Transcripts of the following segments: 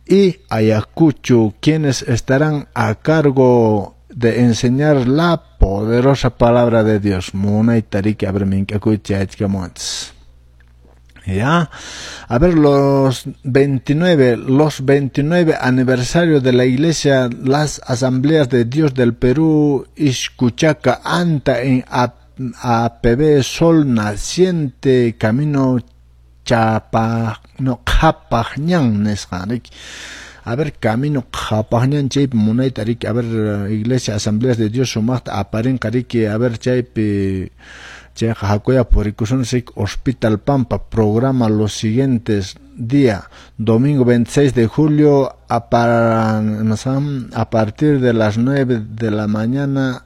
Y Ayacucho, quienes estarán a cargo de enseñar la poderosa palabra de Dios. Munayta riki, a ver, mink'akuychis. Ya, a ver, los 29 aniversario de la Iglesia, las Asambleas de Dios del Perú, Izcuchaca, Anta, en APB Sol Naciente, Camino Chapa, no, Qhapaqñan nisqa. A ver, Camino Qhapaqñan chaypi munayta riki, a ver, Iglesia Asambleas de Dios sumaqta aparinqa riki, a ver, chaypi chayqa hakuya purikusunchik. Hospital Pampa programa los siguientes día: domingo 26 de julio a partir de las 9 de la mañana,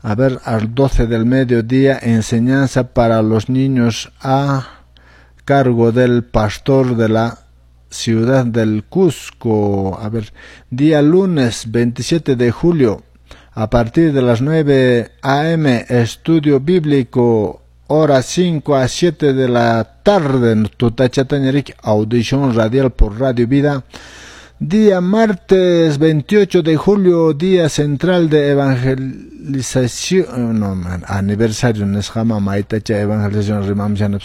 a ver, al 12 del mediodía, enseñanza para los niños a cargo del pastor de la ciudad del Cusco. A ver, día lunes 27 de julio, a partir de las 9 a.m., estudio bíblico, hora 5 a 7 de la tarde, tutachataña riki, audición radial por Radio Vida. Día martes 28 de julio, día central de evangelización, no, aniversario, nisqama maytacha evangelización rimamshana.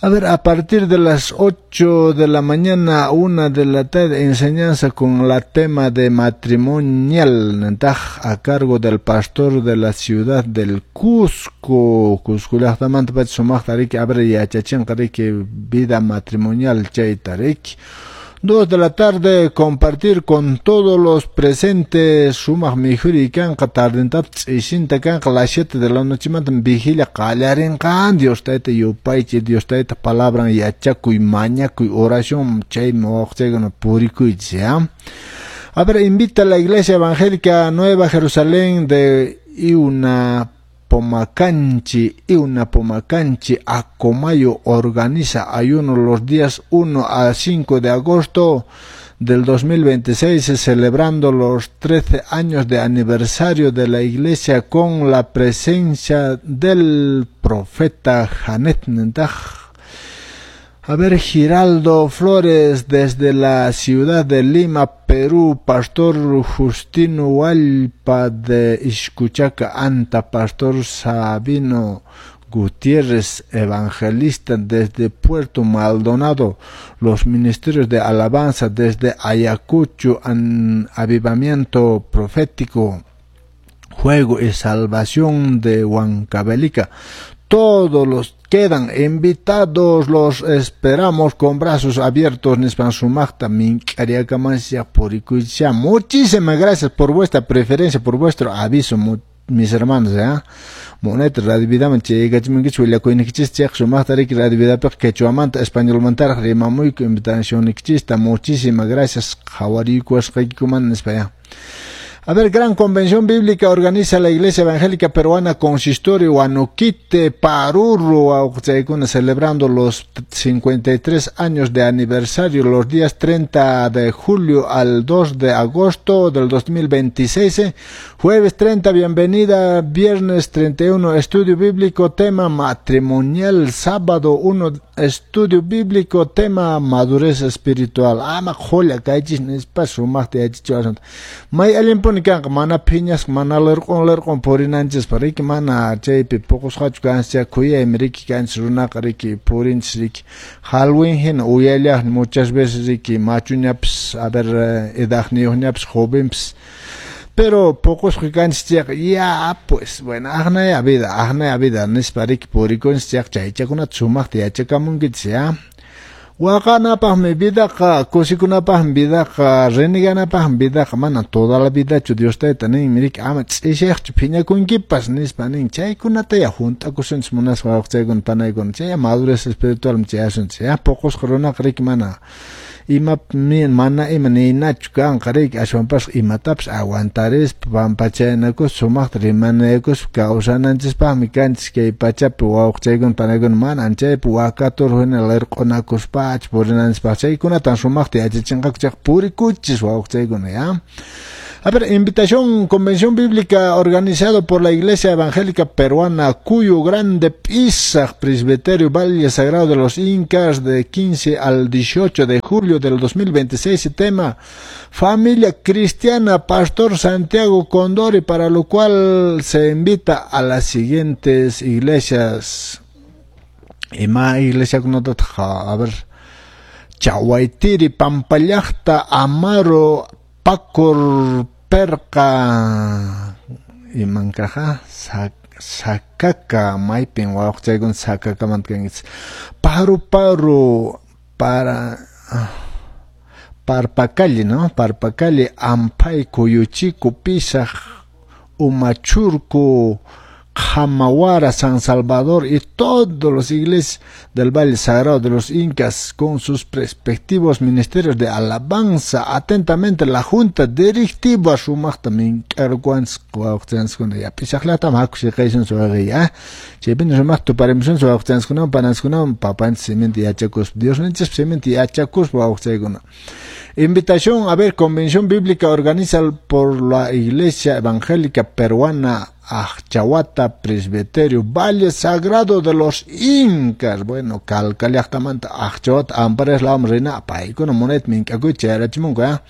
A ver, a partir de las 8 de la mañana a 1 de la tarde, enseñanza con la tema de matrimonial, a cargo del pastor de la ciudad del Cusco. Cusco llaqtamanta pacha sumaqta riki, a ver, yachachinqa riki vida matrimonial chayta riki. 2 de la tarde, compartir con todos los presentes sumaq mikhuri kanqa tardentata ch'isinta kanqa las 7 de la noche manta vigilia qallarinqa. Dios tayta yupaychay, Dios tayta palabran yachakuy, mañakuy, oración, chaymi wawqichaykuna purikuychis ya. A ver, invita a la Iglesia Evangélica Nueva Jerusalén de Iuna Pomacanchi, Iuna Pomacanchi, Acomayo organiza ayuno los días 1 a 5 de agosto del 2026, celebrando los 13 años de aniversario de la iglesia con la presencia del profeta Janet Nentaj. A ver, Giraldo Flores desde la ciudad de Lima, Perú, Pastor Justino Hualpa de Izcuchaca, Anta, Pastor Sabino Gutiérrez, evangelista desde Puerto Maldonado, los ministerios de alabanza desde Ayacucho, avivamiento profético, juego y salvación de Huancavelica. Todos los quedan invitados, los esperamos con brazos abiertos. Nispan sumaqta mink'ariakamansia purikuycha. Muchísimas gracias por vuestra preferencia, por vuestro aviso, mis hermanos, ¿eh? Munayta Radio Vidaman chayaykachimunkichik willakuynikichis chayqa sumaqta riki Radio Vidapiqa quechuamanta españolmantaraq rimamuyku invitacionnikichista. Muchísimas gracias qhawariykuwasqaykikumanta nispa ya. A ver, gran convención bíblica organiza la Iglesia Evangélica Peruana Consistorio Huanoquite Paruro, celebrando los 53 años de aniversario, los días 30 de julio al 2 de agosto del 2026. Jueves 30, bienvenida, viernes 31, estudio bíblico, tema matrimonial, sábado 1, estudio bíblico, tema madurez espiritual. Ama qhulla kaychis nispa sumaqta yachachiwasun. May allinpuni kanqa mana phiñasqa mana lirq'un lirq'un purinanchispaq riki mana chaypi puqusqachu kanchis khuyaymi riki kanchis runaqa riki purinchis riki halwin hina uyallaqmi muchas veces riki machuñapis, a ver, edadniyuqñapis, jovenpis, pero puqusqa kanchis chayqa ya pues bueno, aqnaya vida, aqnaya vida nispa riki purikunchis chayqa chaychakunata sumaqta yachakamunkichis ya. Waqanapaqmi vidaqa, kusikunapaqmi vidaqa, reneganapaqmi vidaqa, mana toda la vidachu Dios tayta ninmi riki ama ch'ishaqchu phiñakunkipas nispa nin. Chaykunata ya hunt'akusunchis munasqa wawqichaykuna panaykuna, chay madurez espiritualmi chayasunchis ya. Puqusqa runaqa riki mana ima mana ima ninachu kanqa riki, ashwanpas imatapas aguantarispa pampachaynakuspa sumaqta rimanaykuspa kawsananchispaqmi kanchis kay pachapi wawqichaykuna panaykuna, mana chaypi wakatur hina lirq'unakuspachu purinanchispaq. Chaykunatan sumaqta yachachinqaku chayqa purikuchis wawqichaykuna ya. A ver, invitación, convención bíblica organizado por la Iglesia Evangélica Peruana, Cuyo Grande, Pisac, Presbiterio, Valle Sagrado de los Incas, de 15 al 18 de julio del 2026, tema Familia Cristiana, Pastor Santiago Condori, para lo cual se invita a las siguientes iglesias. Ima iglesia a ver, Chahuaytiri, Pampallacta, Amaro, Pacor, Perca, imankaja, Sakaka, maypin wawqchaykuna Sakakamanta kankichis, Paru Paru, para Parpacalle, ¿no? Parpacalle, Ampay, Cuyuchico, Pisac, Umachurco, Jamawara, San Salvador y todos los iglesias del Valle Sagrado de los Incas con sus respectivos ministerios de alabanza. Atentamente la Junta Directiva sumaqta mink'arkuwanchis wawqchanchiskuna ya Pisaqllatam haku siqaysun suwaqi chaypina sumaqta tuparimusun wawqchanchiskunawan pananchiskunawan papanchis siminta yachakuspa Diosninchis siminta yachakuspa wawqchaykuna. Invitación, a ver, convención bíblica organizada por la Iglesia Evangélica Peruana, Ajchahuata, Presbiterio, Valle Sagrado de los Incas. Bueno, Calca llaqtamanta Ajchahuata, Ampares la rina, paykuna munayta mink'akuy chayarachimunku, A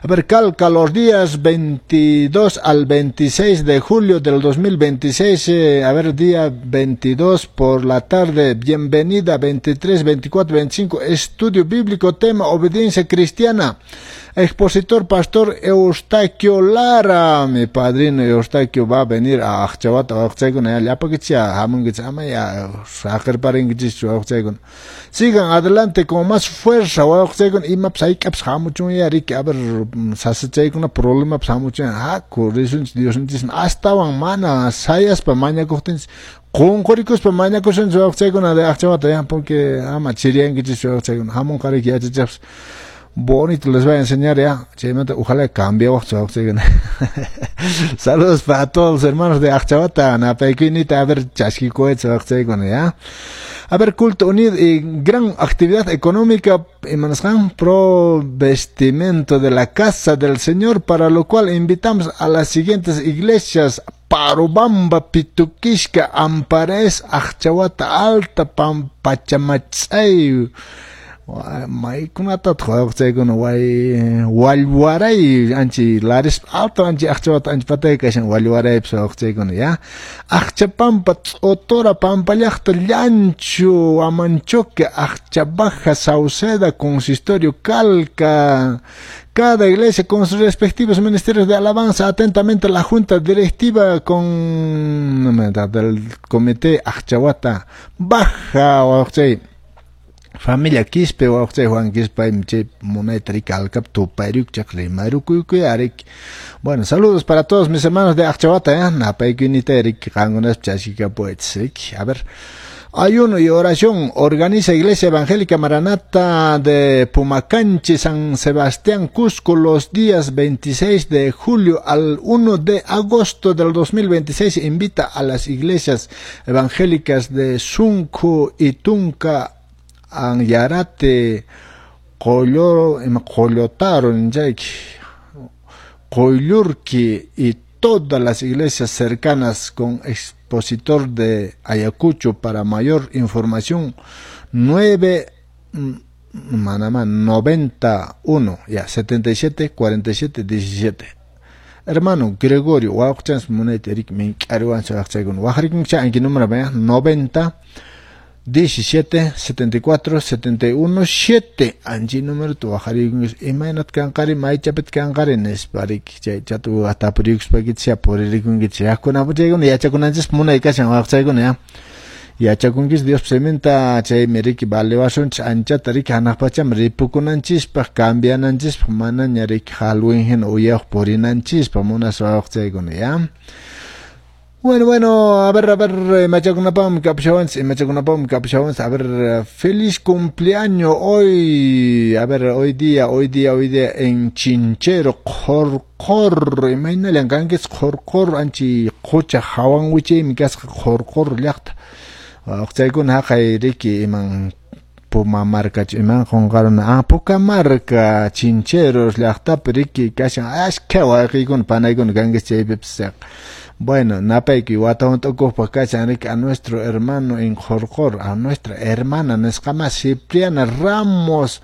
ver, Calca, los días 22 al 26 de julio del 2026, a ver, día 22 por la tarde, bienvenida, 23, 24, 25, estudio bíblico, tema obediencia cristiana. Expositor Pastor Eustaquio Lara, mi padrino Eustaquio va a venir a Ajchahuata, wawqchaykuna, llapakichis hamunkichis, ama ya saqirparinkichis wawqchaykuna. Sigan adelante con más fuerza, wawqchaykuna, imapas hayk'apas hamuchun riki, a ver, sasachaykuna problemapas hamuchun, haku risunchis Diosninchis astawan mana sayaspa mañakuqtinchis, qunqurikuspa mañakusunchis wawqchaykuna de Ajchahuata, ya, porque ama chiriyankichis wawqchaykuna, hamunqa riki yachachiqpas. Bonito les voy a enseñar ya. Chaymanta, ojalá cambie. Saludos para todos los hermanos de Ajchahuata, napaykuynita, a ver, chaskikuetz, ya. A ver, culto unido y gran actividad económica, pro vestimento de la casa del Señor, para lo cual invitamos a las siguientes iglesias: Parubamba, Pituquisca, Ampares, Ajchahuata Alta, Pachamachay, maykunatataq wawqchaykuna way wallwaray anchi laris alto anchi Ajchahuata anchi patay kashan wallwaraypis wawqchaykuna ya Ajchapampa, T'otora, Pampallaqta, Llanchu, Amanchoque, Ajchabaja, Sauceda, Consistorio, Calca. Cada iglesia con sus respectivos ministerios de alabanza. Atentamente la Junta Directiva con del Comité Ajchahuata Baja, wawqchay. Familia Quispe, wawqchay Juan Quispe, chay munayta riki alkap tupayriukchaq rimayrukuykuy arik. Bueno, saludos para todos mis hermanos de Ajchahuata, napaykuynita riki qankunas chaskikapuwaychis riki. A ver, ayuno y oración organiza Iglesia Evangélica Maranata de Pumacanchi, San Sebastián, Cusco, los días 26 de julio al 1 de agosto del 2026. Invita a las iglesias evangélicas de Sunco y Tunca, Anyarate, Qollotaro, Qoyllurqui y todas las iglesias cercanas con expositor de Ayacucho. Para mayor información, 9 manama 91 ya 77 47 17. Hermano Gregorio, wawqchans munayta rik mink'ariwan wawqchaykuna waqrikunkicha anki número 90 17 74 71 7 anchi número tu waqarikunkichis imaynat kanqari maychapit kanqari nispa riki chay chatu tapuriykuspakichis puririkunkichis yakunapuchaykuna yachakunanchis munay kashan wawqchaykuna ya yachakunkis Dios siminta chaymi riki valewasunchis anchata riki hanaq pacham ripukunanchispaq cambiananchispaq manaña riki halwin hina uyawaq purinanchispaq munaspa wawqchaykuna ya. Bueno, bueno, a ver, machakunapam kapshawanchis, machakunapam kapshawanchis, a ver, feliz cumpleaños hoy, a ver, hoy día en Chinchero, Qorqor, imaynallan kankichis Qorqor, anchi qucha hawan wichaymi kasqa Qorqor llaqta. Wawqchaykuna haqay riki iman Pumamarkachu iman qunqaruna, Pukamarka, Chincheros llaqtapi riki kashan askha wayqiykuna panaykuna kankichis chaypipis. Bueno, napaykuy wata hunt'akuqpaq kashan riki a nuestro hermano en Qurqur, a nuestra hermana nisqama Cipriana Ramos.